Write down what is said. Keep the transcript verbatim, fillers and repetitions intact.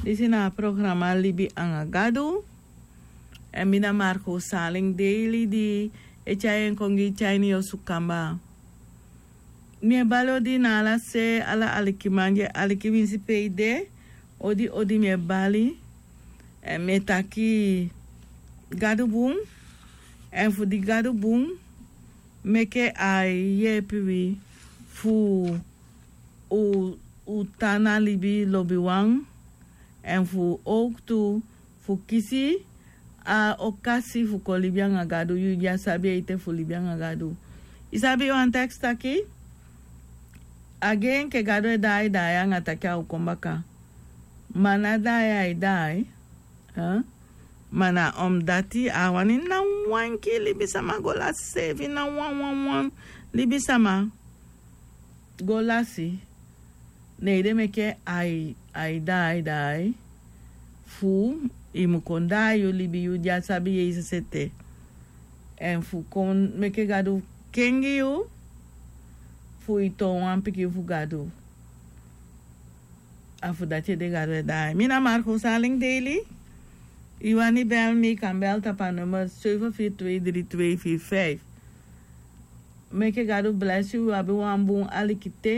Disi na a programa Libi anga Gadu. Èn mi na Marco Saling Daily di e tyai en kon gi yu te a ini yu osu kamba. Mi e bali odi na ala se, ala alikiman di e aliki winsi pe i de. Odi odi mi e bali. Èn mi e taki Gadu bun. Èn fu di Gadu bun, meke a e yeepi wi fu u, u tan na libi lobiwan, èn fu owktu fu kisi a okasi fu kon libi anga Gadu, yu di á sabi ete fu libi anga Gadu. I sabi wan teks taki, a gi enke Gadu e daai daai anga taki a o kon baka. Ma ná daai ai daai, eh? Ma na omdati a á wani ná wan enke libisama go lasi seefi, ná wan wan wan libisama go lasi. Ne ede meke ai, ai daai daai fu i mu kon daai yu libi, yu di á sabi Yesus ete. Èn fu kon meke Gadu kengi yu fu i toon wan pikin fu Gadu. A fu dati ede Gadu e daai. Mi na Marco Saling Daily. I wani bel mi, i kan bel tapu a nummer seven vier twee drie twee vier vijf. Meke Gadu blesi yu, wi abi wan bun aliki te.